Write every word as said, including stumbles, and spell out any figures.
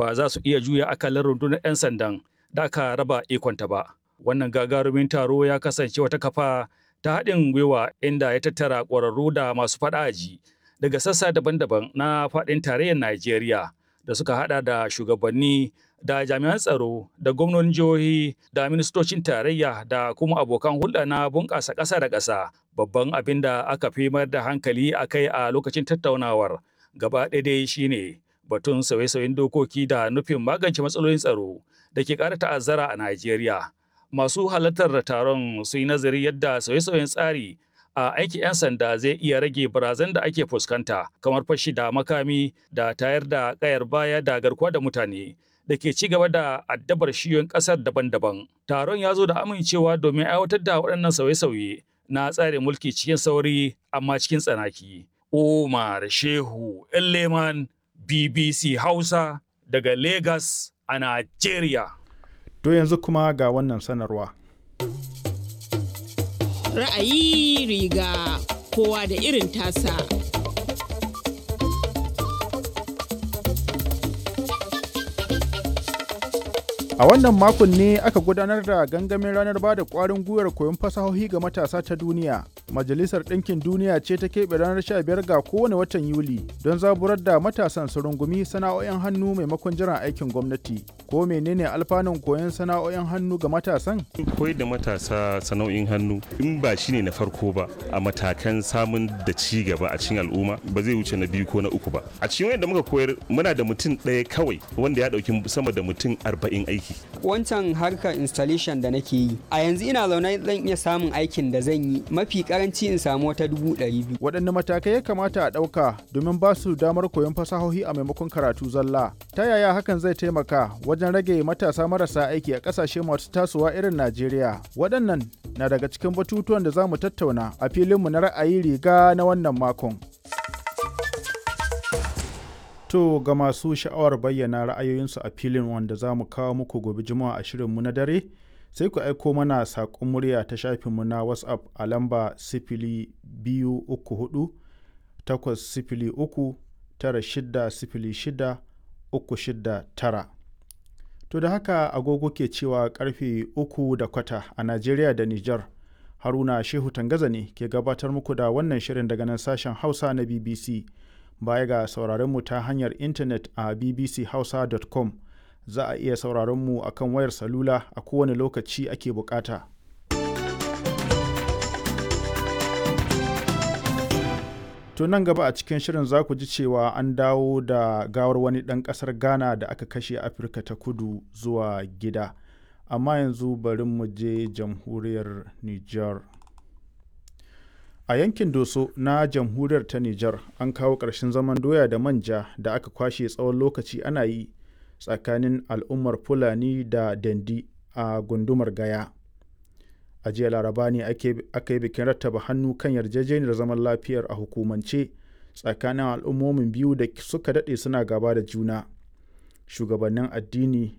ba za su iya juya akalar rundunar 'yan sandan da aka raba ikonta ba. Wannan gagarumin taro ya kasance wata kafa ta haɗin gwiwa inda ya tattara ƙwararru da masu faɗa aji daga sassa daban-daban na faɗin tarayyar Najeriya da suka haɗa da shugabanni da jami'an tsaro da gwamnonin jihohi da ministocin tarayya da kuma abokan hulɗa na bunƙasa ƙasa da ƙasa. Babban abin da aka fi mayar da hankali a kai a lokacin tattaunawar gaba ɗaya dai shine batun sauye-sauyen dokoki da nufin magance matsalolin tsaro da ke ƙara ta'azzara a Najeriya. Masu halartar taron sun yi nazari yadda sauye-sauyen tsari a aikin 'yan sanda zai iya rage barazan da ake fuskanta kamar fashi da makami da tayar da kayar baya da garkuwa da mutane da ke ci gaba da addabar shiyoyin kasar daban-daban. Taron ya zo da amincewa domin aiwatar da waɗannan sauye-sauye na tsarin mulki cikin sauri amma cikin tsanaki. Umar Shehu Leman B B C Hausa daga Lagos a Najeriya. To yanzu kuma ga wannan sanarwa. Ra'ayi riga kowa da irin tasa. A wannan makon ne aka gudanar da gangamin ranar ba da ƙwarin gwiwar koyon fasahohi ga matasa ta duniya. Majalisar Ɗinkin Duniya ce ta keɓe ranar sha biyar ga kowane watan Yuli don zaburar da matasan su rungumi sana'o'in hannu maimakon jiran aikin gwamnati. Ko menene alfanun koyon sana'o'in hannu ga matasan? Koyar da matasa sana'o'in hannu in ba shine na farko ba a matakan samun da ci gaba a cikin al'umma, ba zai wuce na biyu ko na uku ba. A cikin wanda muka koyar, muna da mutum ɗaya kawai wanda ya ɗauki sama da mutum arba'in aiki. Wancan harkar installation da nake yi a yanzu, ina zaune zan iya samun aikin da zan yi mafi karanci in samu wata dubu ɗari biyu. Waɗanne matakai ya kamata a ɗauka domin ba su damar koyon fasahohi a maimakon karatu zalla? Ta yaya hakan zai taimaka wajen rage matasa marasa aiki a ƙasashe masu tasowa irin Najeriya? Waɗannan na daga cikin batutuwan da za mu tattauna a filinmu na ra'ayi riga na wannan makon. To ga masu sha'awar bayyana ra'ayoyinsu a filin wanda za mu kawo muku gobe Juma'a a shirinmu na dare, sai ku aiko mana saƙon murya ta shafinmu na WhatsApp a lamba sifili biyu uku hudu takwas sifili uku tara shida sifili shida uku shida tara. To da haka agogo ke cewa karfe uku da kwata a Najeriya da Nijar. Haruna Shehu Tangaza ne ke gabatar muku da wannan shirin daga nan sashen Hausa na B B C. Baya ga sauraron mu ta hanyar intanet a B B C hausa dot com, za a iya sauraron mu a kan wayar salula a kowane lokaci ake bukata. To nan gaba a cikin shirin za ku ji cewa an dawo da gawar wani ɗan ƙasar Ghana da aka kashe Afirka ta Kudu zuwa gida. Amma yanzu bari mu je jamhuriyar Nijar. A yankin Doso na jamhuriyar ta Nijar an kawo ƙarshen zaman doya da manja da aka kwashe tsawon lokaci ana yi tsakanin al'ummar Fulani da Dendi a gundumar Gaya. A jiya Laraba ne aka yi bikin rattaba hannu kan yarjejeniyar zaman lafiyar a hukumance tsakanin al'ummomin biyu da suka daɗe suna gaba da juna. Shugabannin addini